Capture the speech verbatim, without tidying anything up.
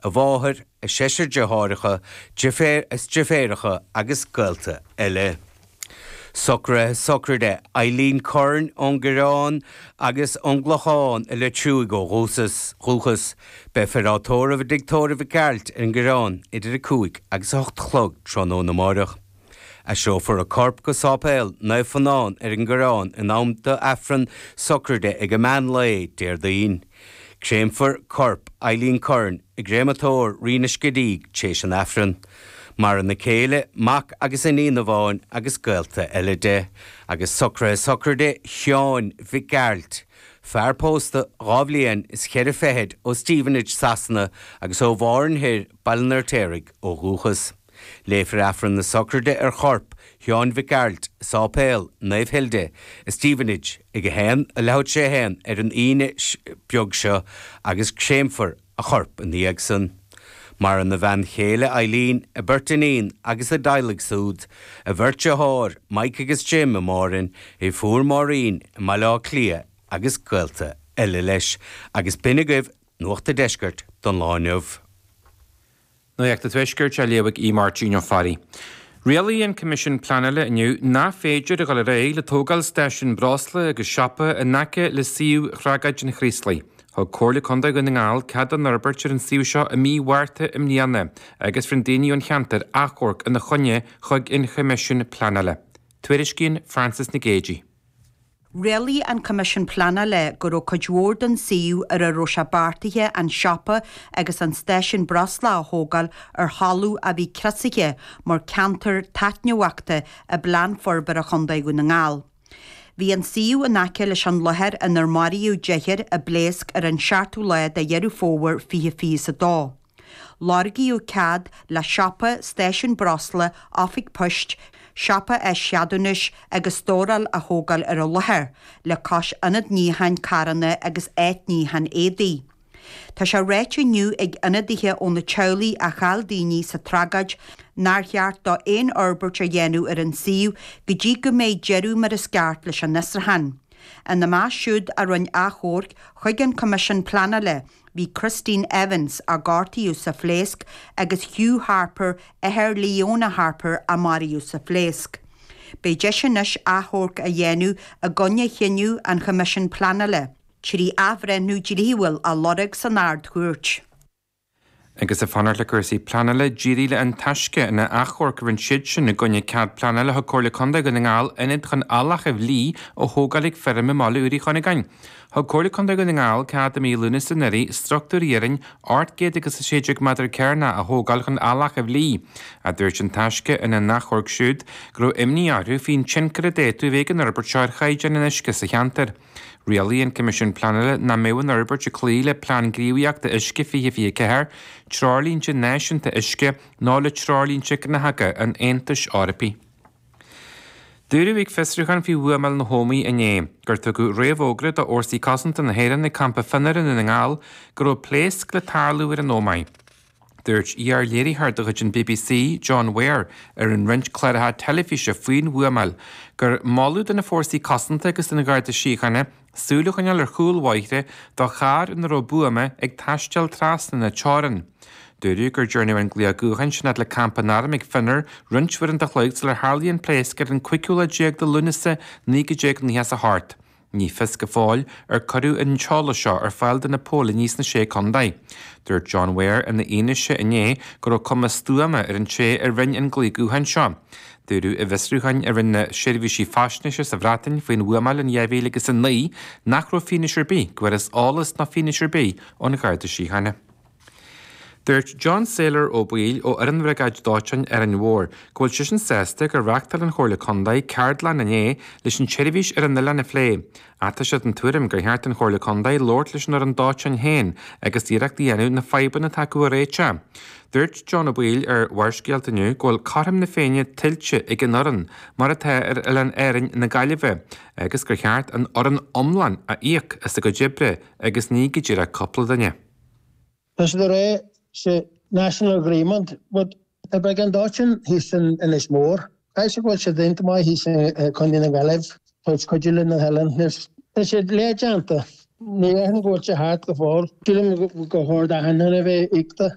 a mháthair, a seisear deartháireacha, deirféar is deirféaracha agus gaolta eile. Socruithe sochraide Eileen Curran ón gCoireán agus ón gClochán i Leitir Fraic ó dhúchas dhúchas, Beifear á tórramh i dTigh Tórraimh Mhic Gearailt ar an gCoireán idir a cúig agus a hocht a chlog tráthnóna amárach. Aistreofar a corp go Sáipéal Naomh Fionán ar an gCoireán in am d'Aifreann sochraide ag an meán lae Déardaoin. Créamfar corp Eileen Curran i gcréamatóir Rí na Scidígh tar éis an Aifrinn. Maireann a céile, mac agus iníon amháin agus gaolta eile de, agus socruithe sochraide Sheáin Mhic Gearailt, fear pósta dhá bhliain is ceithre fichid ó Stevenage Sasana agus ó Mhárn Thoir Baile an Fheirtéaraigh ó dhúchas. Léifear Aifreann na sochraide ar chorp Sheáin Mhic Gearailt, Sáipéal Naomh Hilde, i Stevenage ag a haon a leathuair tar éis a haon ar an Aoine beag seo agus créamfar a chorp ina dhiaidh san. Maireann a bhean chéile Eileen, a beirt iníon agus a dteaghlaigh siúd, a bheirt deartháir, Mike agus Jim i Máirinn, a fuair Máirín i mBaile Átha Cliath agus gaolta eile leis, agus b'in agaibh Nuacht an Deiscirt don lá inniu. Nuacht an Tuaiscirt á léamh ag Máirtín Ó Fearraigh. Rialaigh an Coimisiún Pleanála inniu nach féidir a dhul ar aghaidh le tógáil stáisiún breosla agus siopa in aice le suíomh thragóid an Chraoslaigh. Thug Comhairle Contae Dhún na nGall cead don fhorbairt ar an suíomh seo i mí Mhárta i mbliana agus rinne daoine ón cheantar achomharc ina choinne chuig an Choimisiún Pleanála. Tuairiscíonn Francis Nic Géadaigh. Rialaigh an Coimisiún Pleanála go raibh cuid mhór den suíomh ar a raibh sé beartaithe an siopa agus an stáisiún breosla a thógáil ar thalamh a bhí criosaithe mar ceantar taitneamhachta i bplean forbartha Chontae Dhún na nGall. Bhí an suíomh in aice leis an láthair inar maraíodh deichniúr i bpléasc ar an seachtú lá de Dheireadh Fómhair fiche fiche a dó. Lorgaíodh cead le siopa, stáisiún breosla, oifig poist, siopa áischeadúnais agus stóráil a thógáil ar an láthair, le cois ionad níocháin carranna agus áit níocháin éadaí. Tá sé ráite inniu ag ionadaithe ó na teaghlaigh a chaill daoine sa tragóid nár cheart dó aon fhorbairt a dhéanamh ar an suíomh go dtí go mbeidh deireadh mar is ceart leis an fhiosrúchán. Ina measc siúd a rinne achomharc chuig an Coimisiún Pleanála bhí Christine Evans a gortaíodh sa phléasc agus Hugh Harper athair Leona Harper a maraíodh sa phléasc. Beidh deis anois achomharc a dhéanamh i gcoinne chinneadh an Choimisiúin Pleanála, trí athbhreithniú dlíthiúil a lorg san Ard-Chúirt. Agus ag fanacht le cúrsaí pleanála d'éirigh le An Taisce ina achomharc a rinne siad sin i gcoinne cead pleanála thug Comhairle Contae Dhún na nGall ionad chun eallach a bhlí a thógáil ag feirm i mBaile Uí Chunagáin. Thug Comhairle Contae Dhún na nGall cead i mí Lúnasa anuraidh struchtúr iarainn ocht gcéad agus a sé déag méadar cearnach a thógáil chun eallach a bhlí. A dúirt An Taisce ina n-achomharc siúd go raibh imní orthu faoin tionchar a d'fhéadfadh a bheith ag an fhorbairt seo ar chaighdeán an uisce sa cheantar. Rialaigh an Coimisiún Pleanála nach mbeadh an fhorbairt ag cloí le Plean Gníomhaíochta Uisce fiche fiche ceathair, Treoirlínte Náisiúnta Uisce ná le Treoirlínte Gnáthóga an Aontais Eorpaigh. Dúradh ag fiosrúchán faoi bhuamáil na hÓmaí inné gur tugadh réamhfhógra do Fhórsaí Cosanta na hÉireann ag campa Fionnúr i nDún na nGall go raibh pléasc le tarlú ar an Ómaigh. Dúirt iar-léiritheoir de chuid an BBC, John Ware, ar an roinnt cláracha teilifíse faoin bhuamáil gur moladh do na fórsaí cosanta agus don Gharda Síochána súil a choinneáil ar chúl bóithre do charr ina raibh buama ag taisteal trasna na teorann. Dúradh gur dearnadh an glaoch gutháin sin le campa an airm ag Fionnúr roinnt uaireanta an chloig sular tharlaigh an pléasc ar an cúigiú lá déag de Lúnasa naoi déag nócha a hocht. Ní fios go fóill ar cuireadh an t-eolas seo ar fáil do na póilíní sna sé contae. Dúirt John Ware ina fhianaise inné go raibh cuma stuama ar an té a rinne an glaoch gutháin seo. Dúradh i bhfiosrúcháin a rinne na seirbhísí faisnéise sa Bhreatain faoin bhuamáil in dhá mhíle agus a naoi nach raibh fianaise ar bith go bhfuarthas eolas ná fianaise ar bith ón Gharda Síochána. Dúirt John Saylor Ó Baoill ó fhoireann Bhriogáid Dóiteáin Árainn Mhór go bhfuil seisean sásta gur reáchtáil an Chomhairle Contae ceardlann inné leis an tseirbhís ar an oileán a phlé. Ach tá sé den tuairim gur cheart an Chomhairle Contae labhairt leis an fhoireann dóiteáin féin agus iarracht a dhéanamh na fadhbanna atá acu a réiteach. Dúirt John Ó Baoill ar Bharrscéalta inniu go bhfuil cothrom na Féinne tuillte ag an fhoireann mar atá ar oileán Árainn na Gaillimhe agus gur cheart an fhoireann iomlán a íoc as a gcuid oibre agus ní go díreach cúpla duine. Tá siad ag rá sé national agreement, but tá briogáid dóiteáin thíos in Inis Mór. Caithfidh sé go bhfuil siad déanta maith thíos i Contae na Gaillimhe, tabhairt cuidiú le na hoileáin. Tá siad leathdhéanta. Ní dhéarfainn go bhfuil sé thart go fóill. Sílim go chóir d'achan duine a bheith íocta.